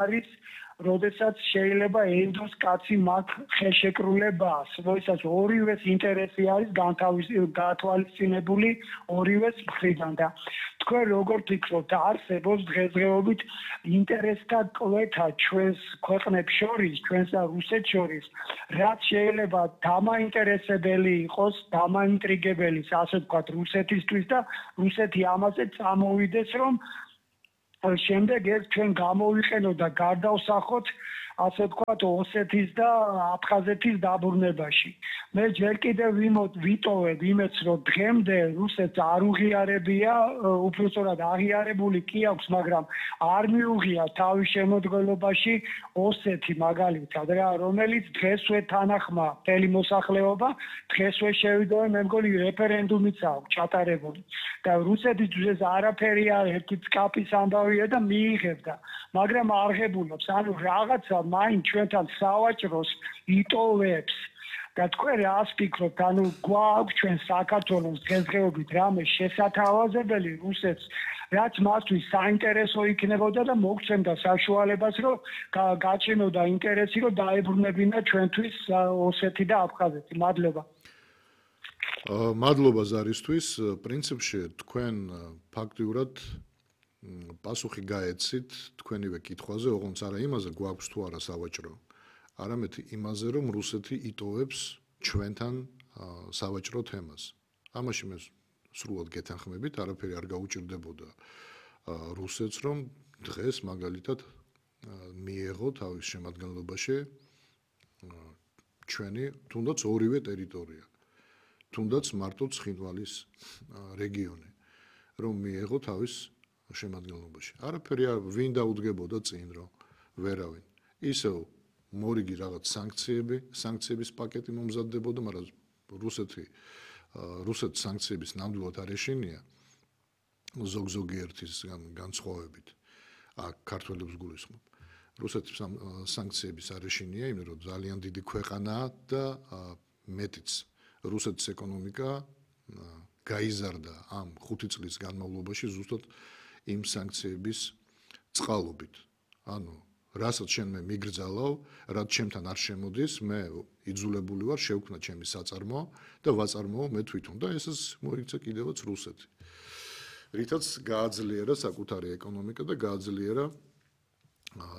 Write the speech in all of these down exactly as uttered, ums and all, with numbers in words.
არის როდესაც შეიძლება ენდოს კაცი მათ ხელშეკრულებას, როდესაც ორივეს ინტერესი არის გათვალისწინებული ორივეს მხრიდან და თქვენ როგორ ფიქრობთ, არსებობს დღესდღეობით ინტერესთა კვეთა ჩვენს ქვეყნებს შორის, ჩვენს და რუსეთს შორის, რაც შეიძლება დამაინტერესებელი იყოს, დამაინტრიგებელი, ასე ვთქვათ, რუსეთისთვის და რუსეთი ამაზე წამოვიდეს, რომ შემდეგ ეს ჩვენ გამოვიყენოთ და გარდავსახოთ, ასე ვთქვათ, ოსეთის და აფხაზეთის დაბრუნებაში. მე ჯერ კიდევ ვიტოვებ იმედს, რომ დღემდე რუსეთს არ უღიარებია, უბრალოდ აღიარებული კი აქვს, მაგრამ არ მიუღია თავის შემოდგენობაში ოსეთი მაგალითად რა, რომელიც დღესვე თანახმა მთელი მოსახლეობა, დღესვე შევიდოვე, მე მგონი რეფერენდუმიც აქვს ჩატარებული. და რუსეთისთვის არაფერი არ ერთი წკაპის ამბავია და მიიღებდა, მაგრამ არ ღებულობს, ანუ რაღაცა მაინც ჩვენთან სავაჭროს იტოვებს. და თქვენ რას ფიქრობთ, ანუ გვაქვს ჩვენ საქართველოს დღესდღეობით რამე შესათავაზებელი რუსეთს, რაც მათთვის საინტერესო იქნებოდა და მოგცემდა საშუალებას, რომ გაჩენოდა ინტერესი, რომ დაებრუნებინა ჩვენთვის ოსეთი და აფხაზეთი. მადლობა. მადლობა ზარისთვის. პრინციპში თქვენ ფაქტიურად პასუხი გაეცით თქვენივე კითხვაზე, ოღონდ არა იმაზე გვაქვს თუ არა სავაჭრო, არამედ იმაზე, რომ რუსეთი იტოვებს ჩვენთან სავაჭრო თემას. ამაში მე სრულად გეთანხმებით, არაფერი არ გაუჭირდებოდა რუსეთს, რომ დღეს მაგალითად მიეღო თავის შემადგენლობაში ჩვენი თუნდაც ორივე ტერიტორია, თუნდაც მარტო ცხინვალის რეგიონი, რომ მიეღო თავის შემადგენლობაში. არაფერი ვინ დაუდგებოდა წინ, რომ ვერავინ. ისევ მორიგი რაღაც სანქციები, სანქციების პაკეტი მომზადდებოდა, მაგრამ რუსეთი რუსეთ სანქციების ნამდვილად არ ეშინია ზოგ-ზოგიერთის განსხვავებით. აქ ქართველებს გულისხმობ. რუსეთის სანქციების არ ეშინია, იმიტომ რომ ძალიან დიდი ქვეყანაა და მეტიც რუსეთის ეკონომიკა გაიზარდა ამ ხუთი წლის განმავლობაში ზუსტად იმ სანქციების წყალობით. ანუ რასაც შენ მე მიგრძალავ, რაც ჩემთან არ შემოდის, მე იძულებული ვარ შევქმნა ჩემი საწარმო და ვაწარმოო მე თვითონ და ესეც მოიქცა კიდევაც რუსეთი. რითაც გააძლიერა საკუთარი ეკონომიკა და გააძლიერა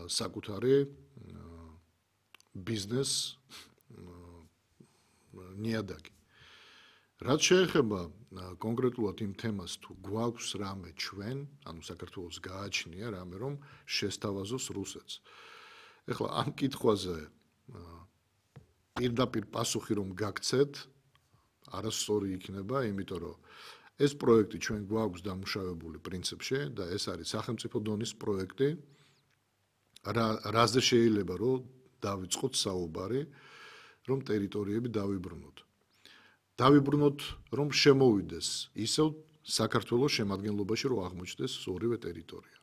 საკუთარი ბიზნეს ნიადაგი. რაც შეეხება კონკრეტულად იმ თემას, თუ გვაქვს რამე ჩვენ, ანუ საქართველოს გააჩნია რამე, რომ შესთავაზოს რუსეთს. ეხლა ამ კითხვაზე პირდაპირ პასუხი რომ გაგცეთ, არასწორი იქნება, იმიტომ რომ ეს პროექტი ჩვენ გვაქვს დამუშავებული პრინციპში და ეს არის სახელმწიფო დონის პროექტი, რაზე შეიძლება რომ დავიწყოთ საუბარი, რომ ტერიტორიები დავიბრუნოთ. დავიბრუნოთ, რომ შემოვიდეს ისევ საქართველოს შემადგენლობაში, რომ აღმოჩნდეს ორივე ტერიტორია.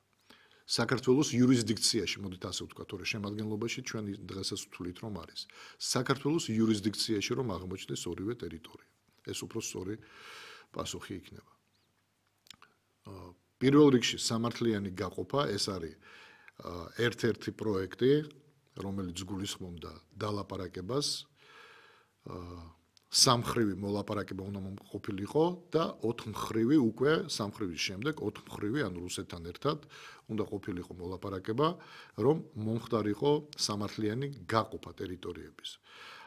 საქართველოს იურისდიქციაში, მოდით ასე ვთქვათ, თორე შემადგენლობაში ჩვენ დღესაც ვთვლით, რომ არის. საქართველოს იურისდიქციაში, რომ აღმოჩნდეს ორივე ტერიტორია. ეს უფრო სწორი პასუხი იქნება. პირველ რიგში სამართლიანი გაყოფა, ეს არის ერთ-ერთი პროექტი, რომელიც გულისხმობდა დალაპარაკებას, სამმხრივი მოლაპარაკება უნდა ყოფილიყო და ოთხმხრივი უკვე სამმხრივის შემდეგ ოთხმხრივი ანუ რუსეთთან ერთად უნდა ყოფილიყო მოლაპარაკება, რომ მომხდარიყო სამართლიანი გაყოფა ტერიტორიების.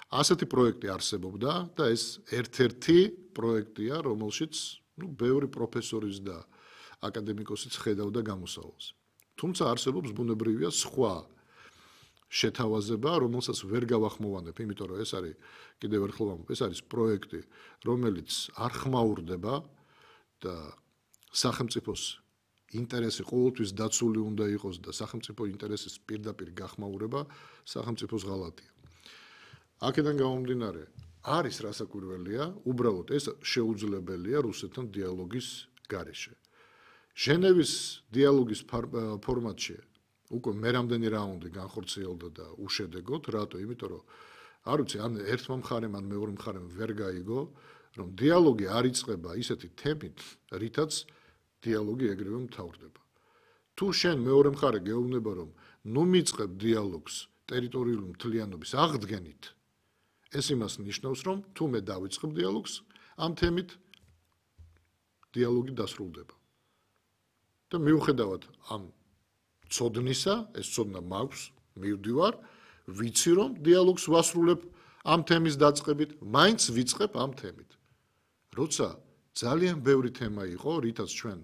ასეთი პროექტი არსებობდა და ეს ერთ-ერთი პროექტია, რომელშიც ნუ ბევრი პროფესორის და აკადემიკოსიც ხედავდა გამოსავალს. თუმცა არსებობს ბუნებრივია სხვა შეთავაზება, რომელსაც ვერ გავახმოვანებ, იმიტომ რომ ეს არის კიდევ ერთხელ ვამბობ, ეს არის პროექტი, რომელიც არ ხმაურდება და სახელმწიფოს ინტერესი ყოველთვის დაცული უნდა იყოს და სახელმწიფო ინტერესის პირდაპირ გახმაურება სახელმწიფოს ღალატია. აქედან გამომდინარე, არის რასაკვირველია, უბრალოდ ეს შეუძლებელია რუსეთთან დიალოგის გარეშე. ჟენევის დიალოგის ფორმატში უკვე მე რამდენი რაუნდი განხორციელდა და უშედეგოდ, რატო? იმიტომ რომ არ ვიცი, ან ერთმა მხარემ, ან მეორე მხარემ ვერ გაიგო, რომ დიალოგი არ იწყება ისეთი თემით, რითაც დიალოგი ეგრევე მთავრდება. თუ შენ მეორე მხარე გეუბნება, რომ ნუ მიწყებ დიალოგს ტერიტორიული მთლიანობის აღდგენით, ეს იმას ნიშნავს, რომ თუ მე დავიწყებ დიალოგს ამ თემით, დიალოგი დასრულდება. და მიუხედავად ამ ცოდნისა, ეს ცოდნა მაქვს, მივდივარ, ვიცი რომ დიალოგს ვასრულებ ამ თემის დაწყებით, მაინც ვიწყებ ამ თემით. როცა ძალიან ბევრი თემა იყო, რითაც ჩვენ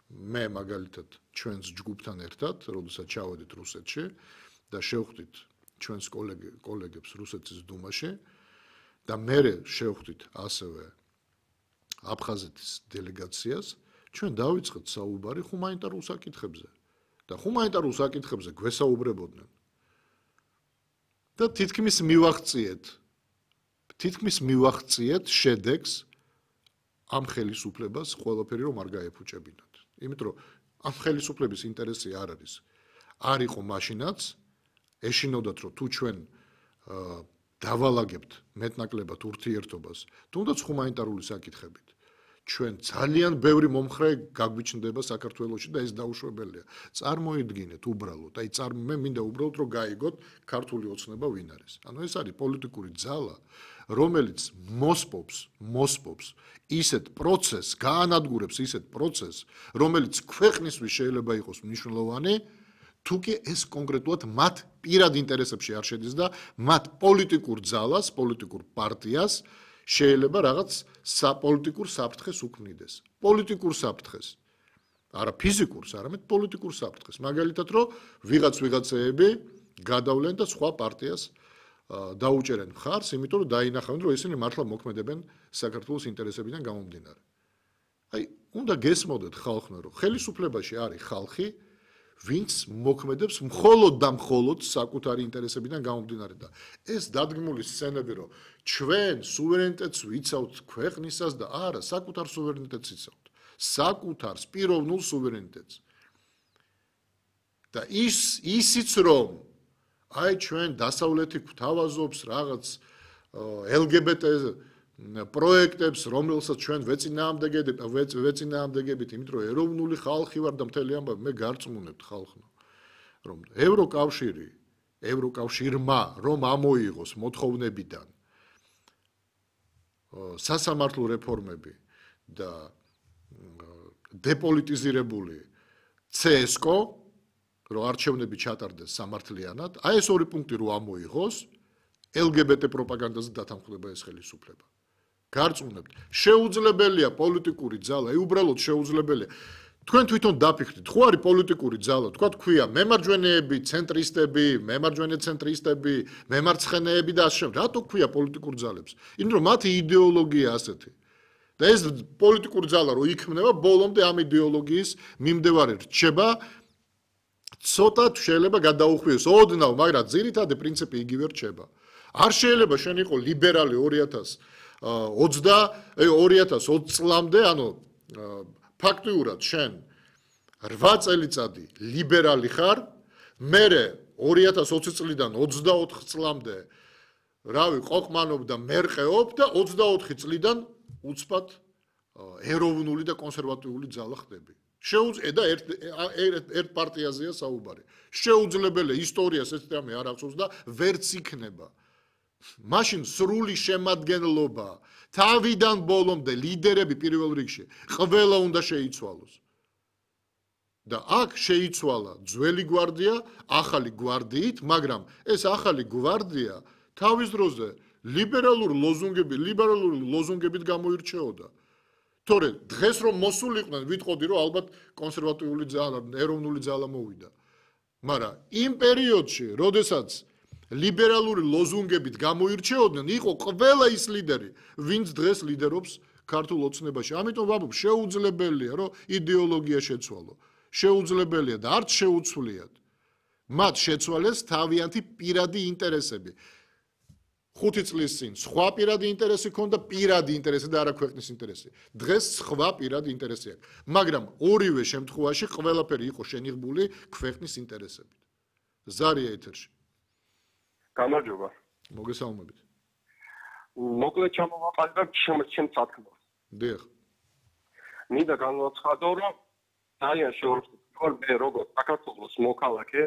მე მაგალითად ჩვენს ჯგუფთან ერთად, როდესაც ჩავედით რუსეთში და შევხვდით ჩვენს კოლეგებს რუსეთის დუმაში და მერე შევხვდით ასევე აფხაზეთის დელეგაციას, ჩვენ დავიწყეთ საუბარი ჰუმანიტარულ საკითხებზე და ჰუმანიტარულ საკითხებზე გვესაუბრებოდნენ. და თითქმის მივაღწიეთ, თითქმის მივაღწიეთ შედეგს ამ ხელისუფლებას ყველაფერი რომ არ გაეფუჭებინათ. იმიტომ რომ ამ ხელისუფლების ინტერესი არ არის. არ იყო მაშინაც ეშინოდათ რომ თუ ჩვენ დავალაგებთ მეტნაკლებად ურთიერთობას, თუნდაც ჰუმანიტარული საკითხებით. ჩვენ ძალიან ბევრი მომხრე გაგვიჩნდება საქართველოში და ეს დაუშვებელია. წარმოიდგინეთ უბრალოდ, აი წარ მე მინდა უბრალოდ რომ გაიგოთ ქართული ოცნება ვინ არის. ანუ ეს არის პოლიტიკური ძალა, რომელიც მოსპობს, მოსპობს ისეთ პროცესს, გაანადგურებს ისეთ პროცესს, რომელიც ქვეყნისთვის შეიძლება იყოს მნიშვნელოვანი, თუკი ეს კონკრეტულად მათ პირად ინტერესებში არ შედის და მათ პოლიტიკურ ძალას, პოლიტიკურ პარტიას შეიძლება რაღაც საპოლიტიკურ საფრთხეს უქმნიდეს. პოლიტიკურ საფრთხეს. არა ფიზიკურს, არამედ პოლიტიკურ საფრთხეს. მაგალითად, რომ ვიღაც ვიღაცეები გადავლენ და სხვა პარტიას დაუჭერენ მხარს, იმიტომ რომ დაინახავენ, რომ ისინი მართლა მოქმედებენ საქართველოს ინტერესებიდან გამომდინარე. აი, უნდა გესმოდეთ ხალხმა, რომ ხელისუფლებაში არის ხალხი, ვინც მოქმედებს მხოლოდ და მხოლოდ საკუთარი ინტერესებიდან გამომდინარე და ეს დადგმული სცენები, რომ ჩვენ სუვერენიტეტს ვიცავთ ქვეყნისას და არა, საკუთარ სუვერენიტეტს ვიცავთ. საკუთარ პიროვნულ სუვერენიტეტს. და ის ისიც რომ აი ჩვენ დასავლეთი გვთავაზობს რაღაც ელ გი ბი ტე პროექტებს, რომელსაც ჩვენ ვეწინააღმდეგებით, ვეწინააღმდეგებით, იმიტომ რომ ეროვნული ხალხი ვარ და მთელი ამბავი, მე გარწმუნებთ ხალხო, რომ ევროკავშირი, ევროკავშირმა რომ ამოიღოს მოთხოვნებიდან სასამართლო რეფორმები და დეპოლიტიზირებული ცე ეს კო, რომ არჩევნები ჩატარდეს სამართლიანად, აი ეს ორი პუნქტი რომ ამოიღოს, ელ გი ბი ტე პროპაგანდაზე დათანხმდება ეს ხელისუფლება. გარწმუნებთ, შეუძლებელია პოლიტიკური ძალა, აი უბრალოდ შეუძლებელია. თქვენ თვითონ დაფიქრდით, ხო არის პოლიტიკური ძალა, თქვა თქვია მემარჯვენეები, ცენტრისტები, მემარჯვენე ცენტრისტები, მემარცხენეები და ასე შემდეგ. რატო ქვია პოლიტიკურ ძალებს? იმიტომ რომ მათი იდეოლოგია ასეთი. და ეს პოლიტიკური ძალა რო იქმნება, ბოლომდე ამ იდეოლოგიის მიმდევარი რჩება, ცოტა შეიძლება გადაუხვიოს ოდნავ, მაგრამ ძირითადი პრინციპი იგივე რჩება. არ შეიძლება შენ იყო ლიბერალი ორი ათას ოცდაოთხ წლამდე, ანუ ფაქტიურად შენ რვა წელიწადი ლიბერალი ხარ, მერე ორი ათას ოცი წლიდან ოცდაოთხ წლამდე რავი ყოყმანობ და მერყეობ და ოცდაოთხი წლიდან უცბად ეროვნული და კონსერვატიული ძალა ხდები. შეუძლია და ერთ ერთ პარტიაზეა საუბარი. შეუძლებელია ისტორიას ეს თემი არ ახსოვს და ვერც იქნება. მაშინ სრული შემადგენლობა თავიდან ბოლომდე ლიდერები პირველ რიგში ყველა უნდა შეიცვალოს. და აქ შეიცვალა ძველი გვარდია ახალი გვარდიით, მაგრამ ეს ახალი გვარდია თავის დროზე ლიბერალური ლოზუნგები, ლიბერალური ლოზუნგებით გამოირჩეოდა. თორე დღეს რომ მოსულიყვნენ, ვიტყოდი რომ ალბათ კონსერვატიული ძალა, ეროვნული ძალა მოვიდა. მაგრამ იმ პერიოდში, როდესაც ლიბერალური ლოზუნგებით გამოირჩეოდნენ, იყო ყველა ის ლიდერი, ვინც დღეს ლიდერობს ქართულ ოცნებაში. ამიტომ ვამბობ, შეუძლებელია, რომ იდეოლოგია შეცვალო. შეუძლებელია და არც შეუცვლიათ. მათ შეცვალეს თავიანთი პირადი ინტერესები. ხუთი წლის წინ სხვა პირადი ინტერესი ქონდა, პირადი ინტერესი და არა ქვეყნის ინტერესი. დღეს სხვა პირადი ინტერესი აქვს. მაგრამ ორივე შემთხვევაში ყველაფერი იყო შენიღბული ქვეყნის ინტერესებით. ზარია ეთერში. გამარჯობა. მოგესალმებით. მოკლედ ჩამოვაყალიბე ჩემს სათქმელს. დიახ. მინდა განვაცხადო, რომ ძალიან შეურაცხმყოფ მე როგორც საქართველოს მოქალაქე